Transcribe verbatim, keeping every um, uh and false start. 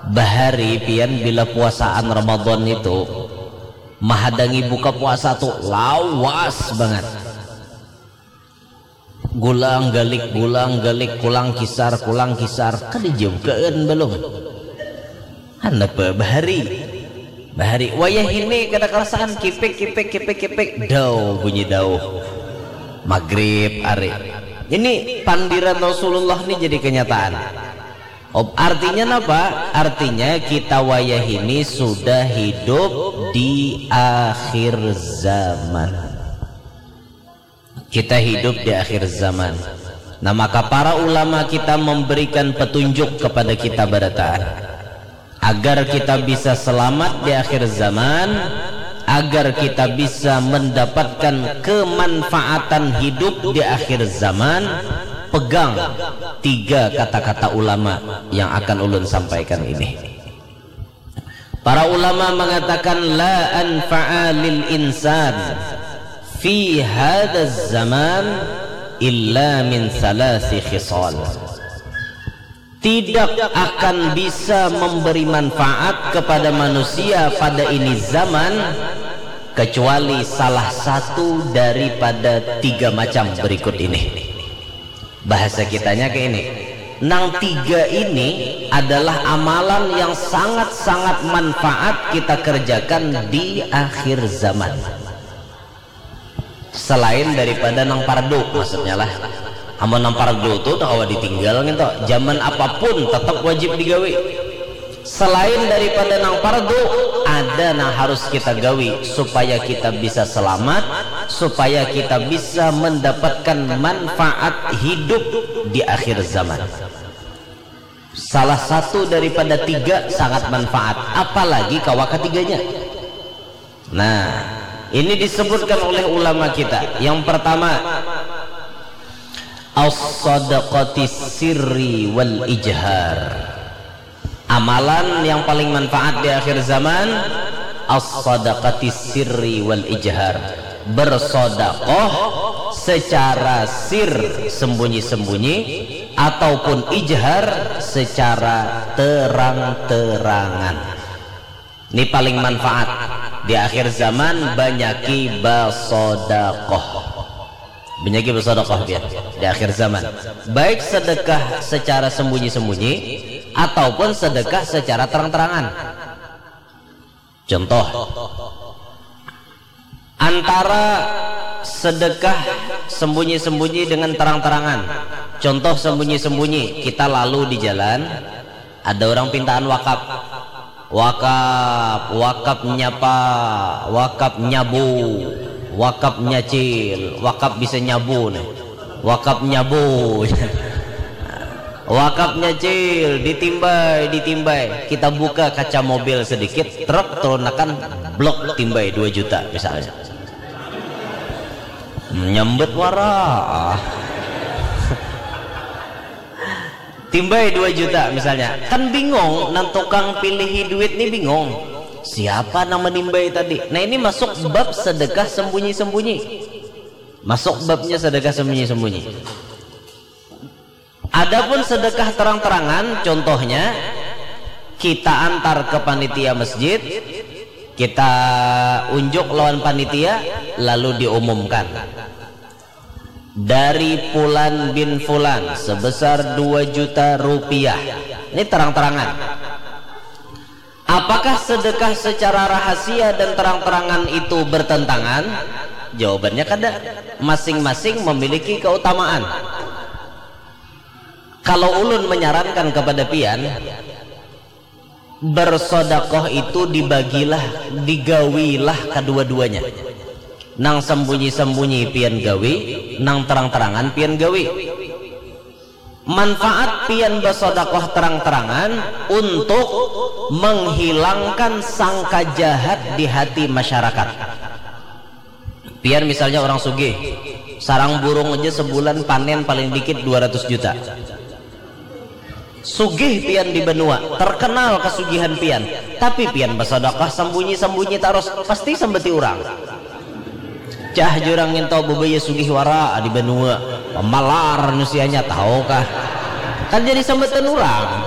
Bahari pian bila puasaan Ramadan itu mahadangi buka puasa tu lawas bangat. Gulang galik, gulang galik, kulang kisar, kulang kisar. Kada jam kaan belum. Hanapa bahari? Bahari wayah ini kada kerasaan kipik kipik kipik kipik dau bunyi dau. Maghrib ari. Ini pandiran Rasulullah ni jadi kenyataan. Artinya apa? Artinya kita wayah ini sudah hidup di akhir zaman. Kita hidup di akhir zaman. Nah, maka para ulama kita memberikan petunjuk kepada kita barataan agar kita bisa selamat di akhir zaman, agar kita bisa mendapatkan kemanfaatan hidup di akhir zaman. Pegang tiga kata-kata ulama yang akan ulun sampaikan ini. Para ulama mengatakan la anfa'a lil insan fi hadzal zaman illa min salasi khisal. Tidak akan bisa memberi manfaat kepada manusia pada ini zaman kecuali salah satu daripada tiga macam berikut ini. Bahasa kitanya kayak ini. Nang tiga ini adalah amalan yang sangat-sangat manfaat kita kerjakan di akhir zaman. Selain daripada nang pardu, maksudnya lah. Amun nang pardu tu tak kawa ditinggal gitu. Zaman apapun tetap wajib digawi. Selain daripada nang pardu, ada nang harus kita gawi supaya kita bisa selamat, supaya kita bisa mendapatkan manfaat hidup di akhir zaman. Salah satu daripada tiga sangat manfaat, apalagi kawa ketiganya. Nah, ini disebutkan oleh ulama kita. Yang pertama, as-sadaqati sirri wal ijhar. Amalan yang paling manfaat di akhir zaman, as-sadaqati sirri wal ijhar. Bersodakoh secara sir, sembunyi-sembunyi, ataupun ijhar secara terang-terangan. Ini paling manfaat. Di akhir zaman banyaki basodakoh. Banyaki basodakoh biar di akhir zaman. Baik sedekah secara sembunyi-sembunyi ataupun sedekah secara terang-terangan. Contoh, antara sedekah sembunyi-sembunyi dengan terang-terangan. Contoh sembunyi-sembunyi, kita lalu di jalan, ada orang pintaan wakaf. Wakaf, wakaf nyapa, wakaf nyabu, wakaf nyacil, wakaf bisa nyabu nih. Wakaf nyabu. Wakaf nyacil, ditimbai, ditimbai. Kita buka kaca mobil sedikit, truk turunakan, blok, timbai dua juta misalnya. Nyambet wara. Timbai dua juta misalnya. Kan bingung, nang tukang pilihi duit nih bingung. Siapa nama nimbai tadi? Nah, ini masuk bab sedekah sembunyi-sembunyi. Masuk babnya sedekah sembunyi-sembunyi. Adapun sedekah terang-terangan, contohnya kita antar ke panitia masjid, kita unjuk lawan panitia, lalu diumumkan dari Fulan bin Fulan sebesar dua juta rupiah. Ini terang-terangan. Apakah sedekah secara rahasia dan terang-terangan itu bertentangan? Jawabannya kada. Masing-masing memiliki keutamaan. Kalau ulun menyarankan kepada pian, bersodakoh itu dibagilah, digawilah kedua-duanya. Nang sembunyi-sembunyi pian gawi, nang terang-terangan pian gawi. Manfaat pian basodakoh terang-terangan untuk menghilangkan sangka jahat di hati masyarakat. Pian misalnya orang sugih, sarang burung aja sebulan panen paling dikit dua ratus juta. Sugih pian di banua, terkenal kesugihan pian, tapi pian basodakoh sembunyi-sembunyi tarus, pasti sambati urang. Cah jurang nginto bebaya sugih wara di banua, pamalar nusianya tahu kah? Kan jadi sambatan urang.